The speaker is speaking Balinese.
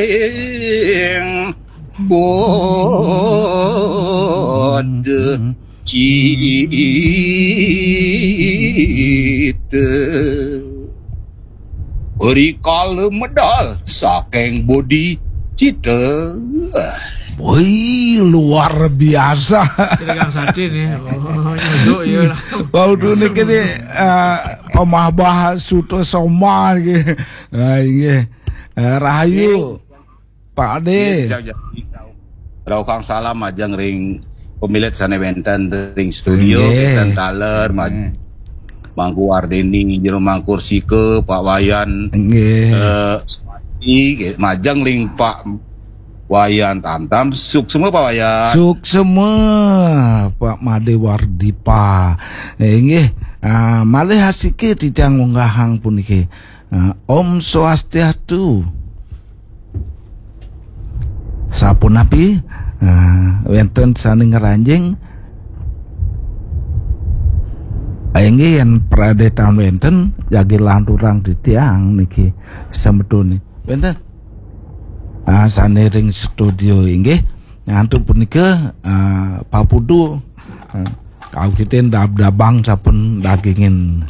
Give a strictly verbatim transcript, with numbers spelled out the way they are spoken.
Ing bod cita. Rikala medal saking bodi cita. Wih, luar biasa. Dagang sate nih. Oh, nyusuk ya lah. Bau tu ni kini uh, pamahbah suto soma lagi. Ah, inggih. Uh, rahayu Pak Ade. Rauh kang salam majeng ring pamilet sane wenten ring studio, wenten taler, maj- Mangku Wardeni, Jero Mangkursika, Pak Wayan, Nggih. Eh, Suwati, majeng ring Pak Wayan Tamtam, suksma Pak Wayan. Suksma Pak Made Wardipa. Eh, inggih. Ah, malih asiki titiang ngunggahang puniki. Ah, Om Swastiastu. Sapunapi? Ah, wenten sane ngranjing? Ah, inggih yen pradetan wenten jagi lanturang titiang niki semetone. Wenten. Ah, sane ring studio inggih. Antuk punika ah, papudu. Ah, kawitin dab-dabang sampun dagingin